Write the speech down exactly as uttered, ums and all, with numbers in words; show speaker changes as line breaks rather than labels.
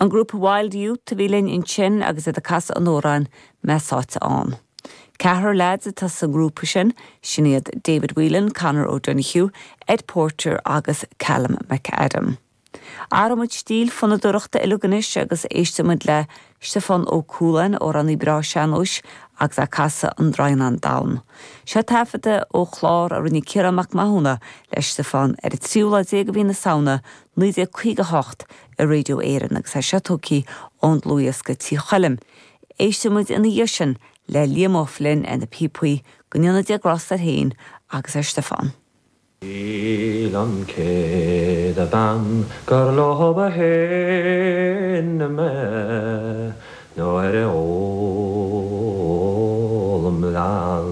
An grúpa Wild Youth a bhí linn ansin agus iad ag casadh an amhráin Mé Sáite Ann. Ceathrar lads atá sa ngrúpa sin sin iad David Whelan, Conor O'Donoghue, Ed Porter agus Callum McAdam. Athraímid stíl fonnadóireachta uilig anois agus éistimid le Stiofán Ó Cualáin amhránaí breá sean-nóis agus ag casadh an Draighneán Donn. Seo taifeadadh ó chlár a rinne Ciarán Mac Mathúna le Stiofán ar an tríú lá déag de mhí na Samhna naoi déag caoga hocht i Radio Éireann agus é seo tógtha ón dlúthdhiosca Tí Choilm. Éistimid ina dhiaidh sin le Liam Ó Floinn ar na píopaí go ndéana Dia grásta air féin agus ar Stiofán.
Shíl an chéad bhean gur leo ba shine mé nuair a ólaim leann.